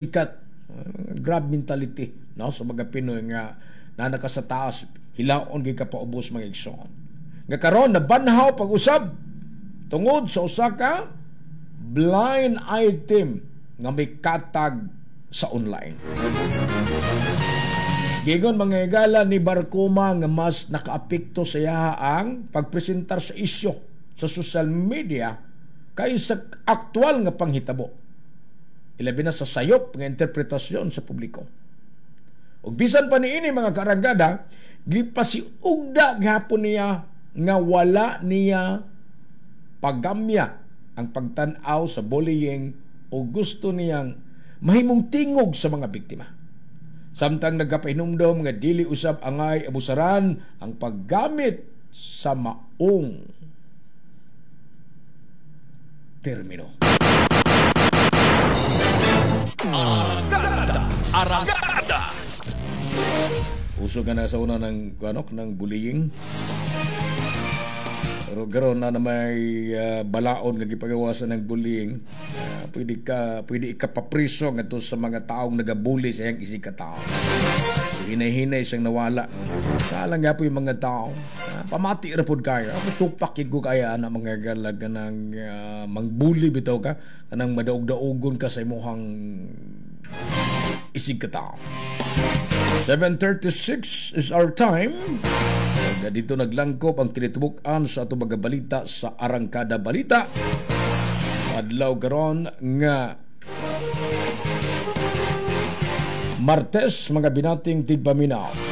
Sikat. Grab mentality, no, sa mga Pinoy nga naa ka sa taas, hilaon gyud ka paubos, mga igsoon. Nga karon nabanhaw pag-usab tungod sa usa ka blind item nga may katag sa online. Giingon, mga higala, ni Barcoma nga mas nakaapekto sa iyaha ang pagpresentar sa isyu sa social media kaysa aktual nga panghitabo. Ilabi na sa sayop nga interpretasyon sa publiko. Ug bisan pa niini, mga kaarangkada, gipasiugda gihapon niya nga wala niya pagamya ang pagtan-aw sa bullying o gusto niyang mahimong tingog sa mga biktima. Samtang nagkapahinumdom nga dili usab angay abusaran ang paggamit sa maong termino. Arangkada! Arangkada! Uso ka na sa una ng ano, ng bullying. Pero karon na na may balaod nga gipagawasan ng bullying, pwede ikapapriso ngadto sa mga taong nagabully sa iyang isig ka tao. So hinay-hinay siyang nawala. Kaalang nga po yung mga tao. Pamati ra pod kayo. Ako supak gid ko kaya ana, mga galag, kanang mangbully bitaw ka, kanang madaog-daogon ka sa imuhang isig ka tao. 7:36 is our time. Ug dito naglangkob ang kinitibuk-an sa ato mga balita sa Arangkada Balita. Sa adlaw karon nga Martes, mga binating tigpaminaw.